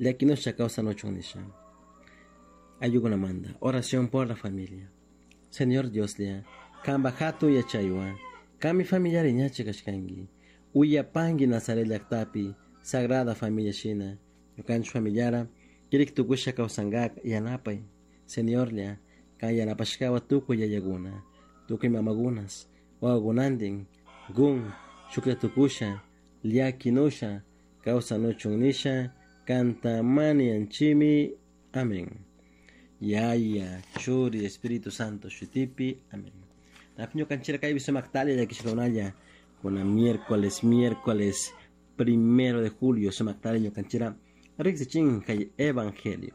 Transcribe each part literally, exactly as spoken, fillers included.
Llakinusha kawsanuchun nisha. Ayllukunamanta. Oración por la familia. Señor Dioslla, kanpak hatun yachaywan, kanmi familiata wiñachik kashkanki. Uyapanki Nazaret llaktapi Sagrada Familia shina, ñukanchik familiara kirik tukusha kawsankak yanapay. Señorlla, kan yanapashkawan tukuy yayakuna, tukuy mamakunas, wawakunantin, gun, shuklla tukusha, llakinusha, kawsanuchun nisha, kanta mañanchimi. Amén. Yaya, Churi, Espíritu Santo, shutipi. Amén. Ñukanchira kaypi sumaktalla llakishkakunalla kuna miércoles, miércoles primero de julio sumaktalla ñukanchira riksichin kay evangelio.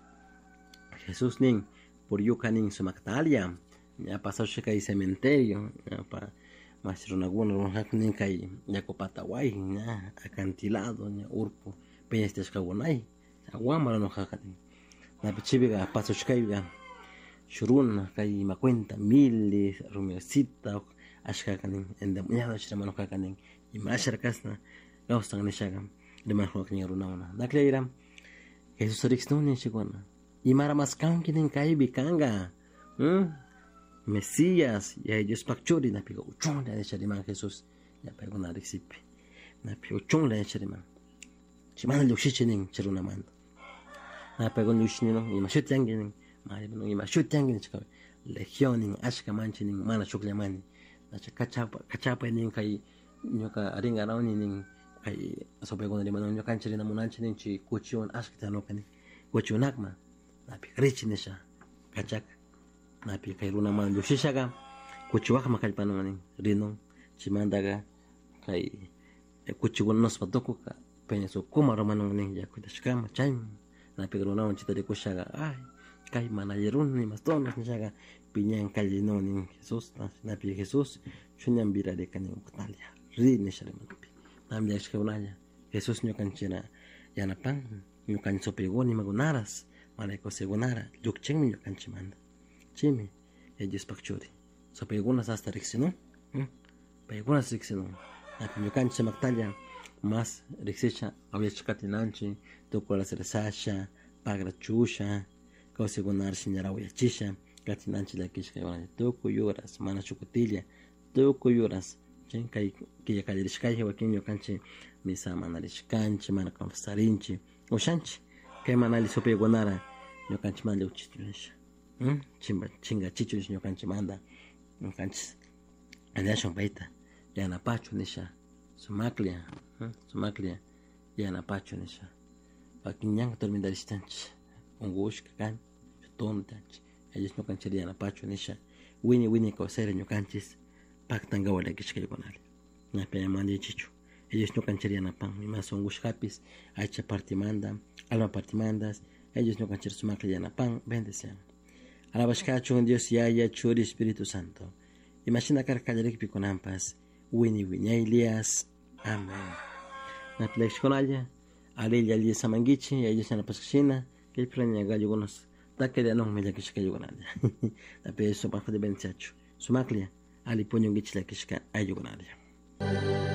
Jesús nin puryuka nin sumaktalla ña pasasha kay cementerio ña pa mas runakuna nin kay yaku pataway ña acantilado ña urku peñas tiyashkakunay wamra nukaka nin napi chaypika pasashkayka shuk runa kay ima cuenta Mili Rumiosita ashkaka nin endemoniado rimanukaka nin imashara kashna kawsan nishaka rimanukaka nin runakuna naklayra Jesús riksnuni nishkakuna imara maskanki nin kaypi kanka Mesías Yaya Diospak churi napika uchunlla nisha riman Jesús ña paykuna riksipi napi uchunlla nisha riman chaymanta llukshichi nin chay runamanta na paykuna llukshininun ima shuti yanki nin ima shuti yanki nishka legión nin ashka manchi nin mana shukllamani kachapa kachapay nin kay ñuka rinkarawni nin kay supaykuna rimanun ñukanchik rina munanchik nin chay kuchiwan ashka tiyanuka nin kuchikunakman napi richi nisha kachaka napi kay runaman llukshishaka kuchiwakman kallpanun nin rinun chaymantaka kay kuchikuna nuspa tukuka peñas ukuma rumanun nin yakutashkama chayman napi runawan chayta rikushaka ay kay mana alli runa imastonas nishaka piñan kallinun nin Jesús napi Jesús chuñanpirarika nin uktalla ri nisha rimanpi nami llakishkakunalla Jesús ñukanchikta yanapan ñukanchik supaykuna imakunaras mana kawsaykunara llukchinmi ñukanchikmanta chaymi Yaya Diospak churi supaykunas hasta riksinun paykunas riksinun napi ñukanchik sumaktalla mas riksisha awyachik katinanchik tukuy rezasha pagrachusha kawsaykunara shinallara awyachisha katinanchik llakishka tukuy horas mana shuk kutilla tukuy horas kay killa kallarishkayji wakin ñukanchik misa mana rishkanchik mana confesarinchik ushanchik kay mana alli supaykunara ñukanchik mana llukchichu nisha chinkachichu nisha ñukanchikmanta ñukanchik anyashun payta yanapachu nisha sumaklla sumaklla yanapachu nisha wakin ñanka tormentarishtanchik unkushka kan tontanchik Yaya Dios ñukanchik yanapachu nisha wiñay wiñay kawsayra ñukanchik paktankawa llakishkaykunalla ñapi ama manchaychikchu Yaya Dios ñukanchik yanapan imas unkushkapis aycha partimanta alma partimantas Yaya Dios ñukanchik sumaklla yanapan bendician. Alabashkachun Dios Yaya Churi Espíritu Santo imashina karka kallarikpi kunanpas wiñay wiñaylias. Amén. Napi llakishkunalla alilla alli samankichik Yaya Dios yanapashkashina kaypi ña gallokunas takarianunmi llakishka ayllukunalla napi sumakta bendiciachu sumaklla alli puñunkichik llakishka ayllukunalla.